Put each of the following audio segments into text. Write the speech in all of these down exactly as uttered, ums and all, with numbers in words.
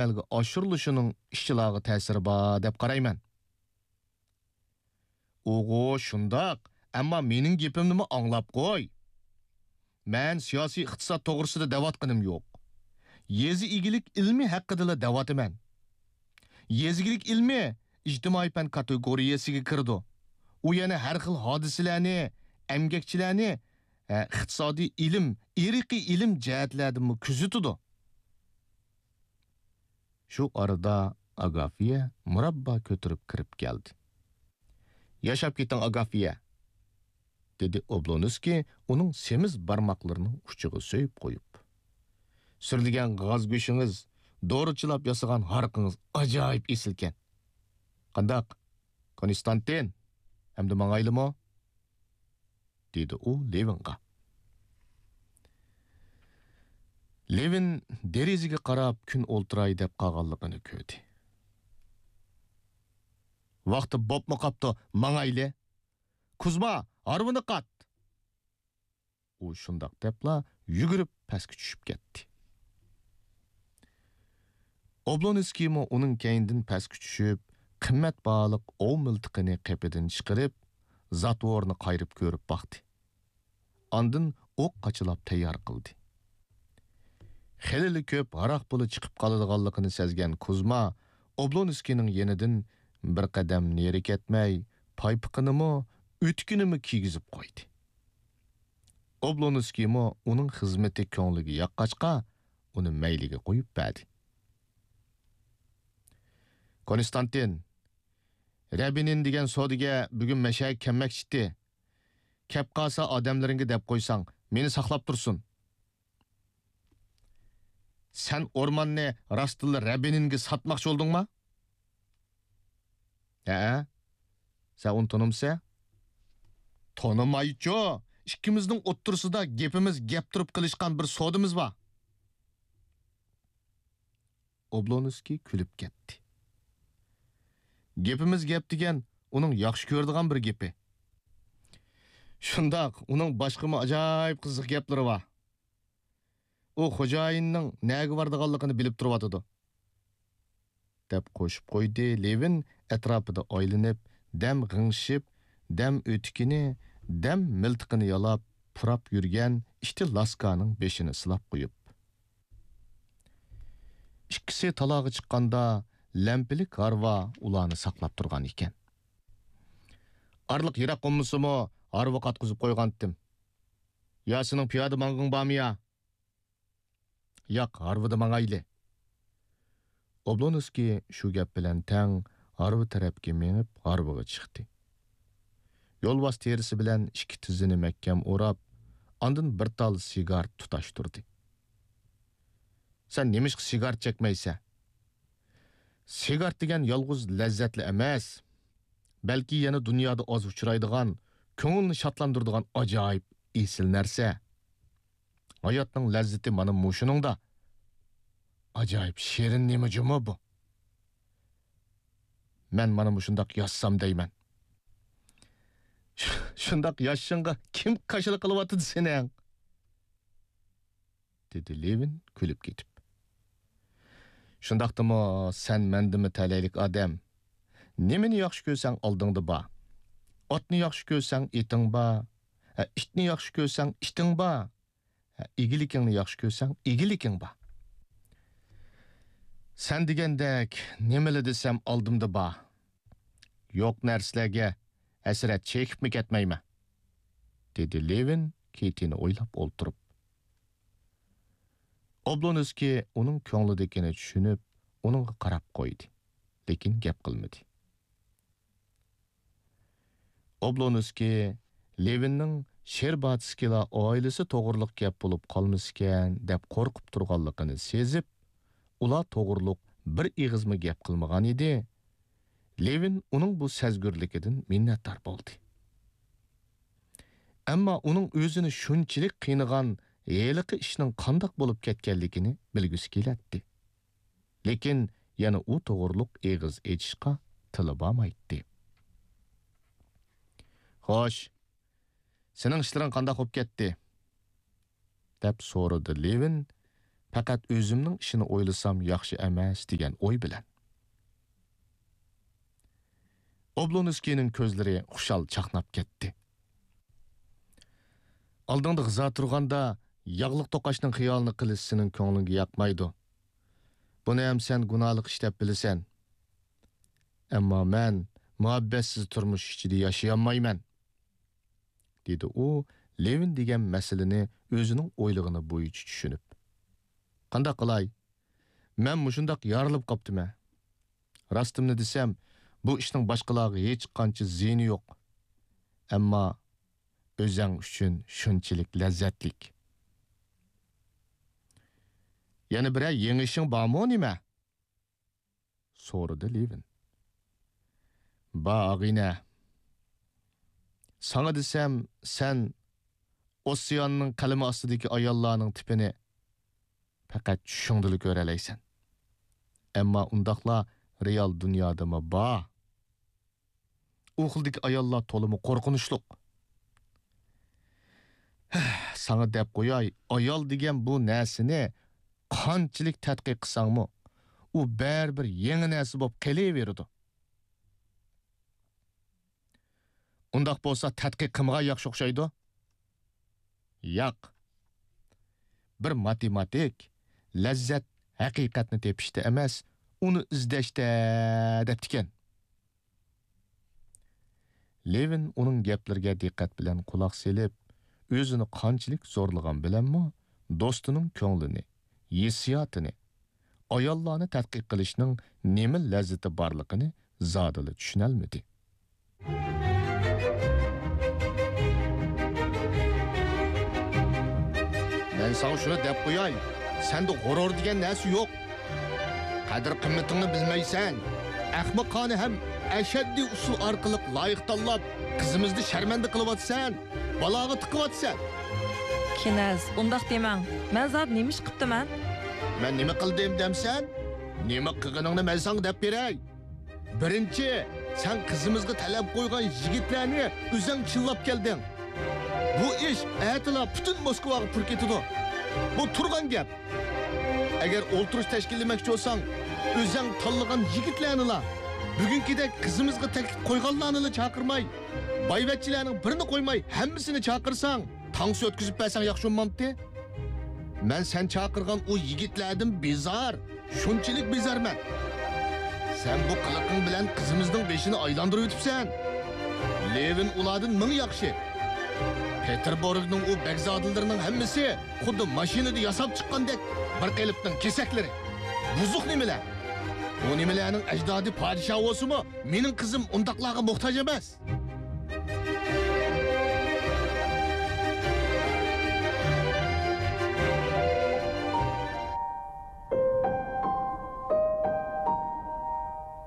ئەمەلگە ئاشۇرۇلۇشىنىڭ ئىشچىلارغا تەسىرى بار دەپ قارايمەن. ئۇغۇ، شۇنداق، ئەمما مېنىڭ گېپىمنىمۇ ئاڭلاپ قوي. مەن سىياسىي ئىقتىساد توغرىسىدا دەۋاتقىنىم يوق. يېزا ئىگىلىك ئىلمى ھەققىدىلا دەۋاتىمەن. يېزا ئىگىلىك ئىلمى ئىجتىمائىي پەن كاتېگورىيەسىگە كىرىدۇ. ئۇ يەنە ھەر خىل ھادىسىلەرنى، ئەمگەكچىلەرنى، ھە، ئىقتىسادىي ئىلىم، ئىرقىي ئىلىم جەھەتلەردىنمۇ كۆزىتىدۇ. شۇ ئارىدا ئاگافىيە مۇراببا كۆتۈرۈپ كىرىپ كەلدى. «ياشاپ كېتىڭ، ئاگافىيە!» دېدى ئوبلونسكىي ئۇنىڭ سېمىز بارماقلىرىنىڭ ئۇچىغا سۆيۈپ قويۇپ. «سۈرلىگەن غاز گۆشىڭىز، دورىچىلاپ ياسىغان ھارىقىڭىز ئاجايىپ ئېسىلكەن. قانداق، كونستانتىن، ئەمدى ماڭايلىمۇ؟» دېدى ئۇ لېۋىنغا. لېۋىن دېرىزىگە قاراپ كۈن ئولتۇراي دەپ قالغانلىقىنى كۆردى. «ۋاقتى بوپمۇ قاپتۇ، ماڭايلى! كۇزما، ھارۋىنى قات!» ئۇ شۇنداق دەپلا يۈگۈرۈپ پەسكە چۈشۈپ كەتتى. ئوبلونسكىيمۇ ئۇنىڭ كەينىدىن پەسكە چۈشۈپ، قىممەت باھالىق ئوۋ مىلتىقىنى قېپىدىن چىقىرىپ، زاتۋورنى قايرىپ كۆرۈپ باقتى. ئاندىن ئوق قاچىلاپ تەييار قىلدى. خېلىلا كۆپ ھاراق پۇلى چىقىپ قالىدىغانلىقىنى سەزگەن كۇزما ئوبلونسكىينىڭ يېنىدىن بىر قەدەم نېرى كەتمەي، پايپىقىنىمۇ، ئۆتۈكىنىمۇ كىيگۈزۈپ قويدى. ئوبلونسكىيمۇ ئۇنىڭ خىزمىتى كۆڭلىگە ياققاچقا، ئۇنى مەيلىگە قويۇپ بەردى. كونستانتىن، رەبىنىن دېگەن سودىگەر بۈگۈن مەشەگە كەلمەكچىتى. كەپ قالسا ئادەملىرىڭگە دەپ قويساڭ، مېنى ساقلاپ تۇرسۇن. سەن ئورماننى راستتىنلا رەبىنىنگە ساتماقچى بولدۇڭما؟ ھەئە. سەن ئۇنى تونۇمسەن؟ تونۇمايچۇ. ئىككىمىزنىڭ ئوتتۇرىسىدا گېپىمىز گەپ تۇرۇپ قىلىشقان بىر سودىمىز بار. ئوبلونسكىي كۈلۈپ كەتتى. گېپىمىز گەپ دېگەن ئۇنىڭ ياخشى كۆرىدىغان بىر گېپى. شۇنداق، ئۇنىڭ باشقىمۇ ئاجايىپ قىزىق گەپلىرى بار. ئۇ خوجايىننىڭ نەگە بارىدىغانلىقىنى بىلىپ تۇرۇۋاتىدۇ، دەپ قوشۇپ قويدى لېۋىن ئەتراپىدا ئايلىنىپ، دەم غىڭشىپ، دەم ئۆتۈكىنى، دەم مىلتىقىنى يالاپ، پۇراپ يۈرگەن ئىككى لاسكانىڭ بېشىنى سىلاپ قويۇپ. ئىككىسى تالاغا چىققاندا، لەمپىلىك ھارۋا ئۇلارنى ساقلاپ تۇرغان ئىكەن. ئارىلىق يىراق بولمىسىمۇ، ھارۋا قاتقۇزۇپ قويغانتىم. يا سېنىڭ پىيادە ماڭغىڭ بارمۇ يا؟ ياق، ھارۋىدا ماڭايلى. ئوبلونسكىي شۇ گەپ بىلەن تەڭ ھارۋا تەرەپكە مېڭىپ، ھارۋىغا چىقتى. يولۋاس تېرىسى بىلەن ئىككى تىزىنى مەھكەم ئوراپ، ئاندىن بىر تال سىگارت تۇتاشتۇردى. سەن نېمىشقا سىگارت چەكمەيسەن؟ سىگارت دېگەن يالغۇز لەززەتلا ئەمەس، بەلكى يەنە دۇنيادا ئاز ئۇچرايدىغان، كۆڭۈلنى شادلاندۇرىدىغان ئاجايىپ ئېسىل نەرسە. ھاياتنىڭ لەززىتى مانا مۇشۇنىڭدا. ئاجايىپ شېرىن نېمە جۇمۇ بۇ؟ مەن مانا مۇشۇنداق ياشىسام دەيمەن. شۇنداق ياشىشىڭغا كىم كاشىلا قىلىۋاتىدۇ سېنىڭ؟ دېدى لېۋىن كۈلۈپ كېتىپ. شۇنداقتىمۇ سەن مەندىنمۇ تەلەيلىك ئادەم. نېمىنى ياخشى كۆرسەڭ ئالدىڭدا بار. ئاتنى ياخشى كۆرسەڭ ئېتىڭ بار. ھە، ئىتنى ياخشى كۆرسەڭ ئىتىڭ بار. ھە، ئىگىلىكىڭنى ياخشى كۆرسەڭ ئىگىلىكىڭ بار. سەن دېگەندەك نېمىلا دېسەم ئالدىمدا بار. يوق نەرسىلەرگە ھەسرەت چېكىپمۇ كەتمەيمەن، دېدى لېۋىن كېتىنى ئويلاپ ئولتۇرۇپ. ئوبلونسكىي ئۇنىڭ كۆڭلىدىكىنى چۈشىنىپ، ئۇنىڭغا قاراپ قويدى، لېكىن گەپ قىلمىدى. ئوبلونسكىي لېۋىننىڭ شېرباتسكىيلار ئائىلىسى توغرۇلۇق گەپ بولۇپ قالمىسىكەن دەپ قورقۇپ تۇرغانلىقىنى سېزىپ، ئۇلار توغرۇلۇق بىر ئېغىزمۇ گەپ قىلمىغان ئىدى. لېۋىن ئۇنىڭ بۇ سەزگۈرلۈكىدىن مىننەتدار بولدى. ئەمما ئۇنىڭ ئۆزىنى شۇنچىلىك قىينىغان ھېلىقى ئىشنىڭ قانداق بولۇپ كەتكەنلىكىنى بىلگۈسى كېلەتتى. لېكىن يەنە ئۇ توغرۇلۇق ئېغىز ئېچىشقا تىلى بارمايتتى. خوش، سېنىڭ ئىشلىرىڭ قانداق بولۇپ كەتتى؟ دەپ سورىدى لېۋىن پەقەت ئۆزۈمنىڭ ئىشىنى ئويلىسام ياخشى ئەمەس دېگەن ئوي بىلەن. ئوبلونسكىينىڭ كۆزلىرى خۇشال چاقناپ كەتتى. ئالدىڭدا غىزا تۇرغاندا ياغلىق توقاچنىڭ خىيالىنى قىلىش سېنىڭ كۆڭلۈڭگە ياقمايدۇ. بۇنى ھەم سەن گۇناھلىق ئىش دەپ بىلىسەن. ئەمما مەن مۇھەببەتسىز تۇرمۇش ئىچىدە ياشىيالمايمەن، دېدى ئۇ، لېۋىن دېگەن مەسىلىنى ئۆزىنىڭ ئويلىغىنى بويىچە چۈشىنىپ. قانداق قىلاي؟ مەن مۇشۇنداق يارىلىپ قاپتىمەن. راستىمنى دېسەم، بۇ ئىشنىڭ باشقىلارغا ھېچقانچە زىيىنى يوق. ئەمما ئۆزەڭ ئۈچۈن شۇنچىلىك لەززەتلىك. يەنە بىرەر يېڭى ئىشىڭ بارمۇ نېمە؟ سورىدى لېۋىن. بار، ئاغىنە. ساڭا دېسەم، سەن ئوسسىياننىڭ قەلىمى ئاستىدىكى ئاياللارنىڭ تىپىنى پەقەت چۈشۈڭدىلا كۆرەلەيسەن. ئەمما ئۇنداقلار رېئال دۇنيادىمۇ بار. ئۇ خىلدىكى ئاياللار تولىمۇ قورقۇنچلۇق. ھە، ساڭا دەپ قوياي، ئايال دېگەن بۇ نەرسىنى قانچىلىك تەتقىق قىلساڭمۇ، ئۇ بەرىبىر يېڭى نەرسە بولۇپ قېلىۋېرىدۇ. ئۇنداق بولسا تەتقىق قىلمىغان ياخشى ئوخشايدۇ. ياق. بىر ماتېماتىك لەززەت ھەقىقەتنى تېپىشتا ئەمەس، ئۇنى ئىزدەشتە دەپتىكەن. لېۋىن ئۇنىڭ گەپلىرىگە دىققەت بىلەن قۇلاق سېلىپ، ئۆزىنى قانچىلىك زورلىغان بىلەنمۇ، دوستىنىڭ كۆڭلىنى، ھېسسىياتىنى، ئاياللارنى تەتقىق قىلىشنىڭ نېمە لەززىتى بارلىقىنى زادىلا چۈشىنەلمىدى. مەن ساڭا شۇنى دەپ قوياي، سەندە غۇرۇر دېگەن نەرسە يوق. قەدىر-قىممىتىڭنى بىلمەيسەن. ئەخمىقانە ھەم ئەشەددىي ئۇسۇل ئارقىلىق لايىق تاللاپ، قىزىمىزنى شەرمەندە قىلىۋاتىسەن، بالاغا تىقىۋاتىسەن. كىنەز، ئۇنداق دېمەڭ. مەن زادى نېمە ئىش قىپتىمەن؟ مەن نېمە قىلدىم دەمسەن؟ نېمە قىلغىنىڭنى مەن ساڭا دەپ بېرەي. بىرىنچى، سەن قىزىمىزغا تەلەپ قويغان يىگىتلەرنى ئۆزەڭ چىللاپ كەلدىڭ. بۇ ئىش ئەتىلا پۈتۈن موسكۋاغا پۇر كېتىدۇ. بۇ تۇرغان گەپ. ئەگەر ئولتۇرۇش تەشكىللىمەكچى بولساڭ، ئۆزەڭ تاللىغان يىگىتلەرنىلا، بۈگۈنكىدەك قىزىمىزغا تەكلىپ قويغانلارنىلا چاقىرماي، بايۋەچچىلەرنىڭ بىرىنى قويماي، ھەممىسىنى چاقىرساڭ، تانسا ئۆتكۈزۈپ بەرسەڭ ياخشى بولمامتى؟ مەن سەن چاقىرغان ئۇ يىگىتلەردىن بىزار، شۇنچىلىك بىزارمەن. سەن بۇ قىلىقىڭ بىلەن قىزىمىزنىڭ بېشىنى ئايلاندۇرۇۋېتىپسەن. لېۋىن ئۇلاردىن مىڭ ياخشى. پېتېربۇرگنىڭ ئۇ بەگزادىلىرىنىڭ ھەممىسى خۇددى ماشىنىدا ياساپ چىققاندەك بىر قېلىپنىڭ كېسەكلىرى. بۇزۇق نېمىلەر. ئۇ نېمىلەرنىڭ ئەجدادى پادىشاھ بولسىمۇ، مېنىڭ قىزىم ئۇنداقلارغا موھتاج ئەمەس.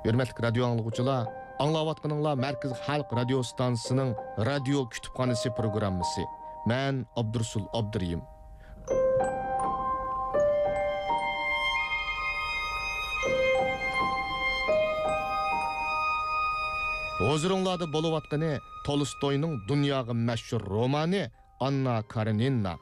ھۆرمەتلىك رادىيو ئاڭلىغۇچىلار، ئاڭلاۋاتقىنىڭلار مەركىزىي خەلق رادىيو ئىستانسىسىنىڭ رادىيو كۇتۇپخانىسى پروگراممىسى. مەن ئابدۇرۇسۇل ئابدۇرېھىم. ھۇزۇرۇڭلاردا بولۇۋاتقىنى تولستوينىڭ دۇنياغا مەشھۇر رومانى ئاننا كارېنىنا.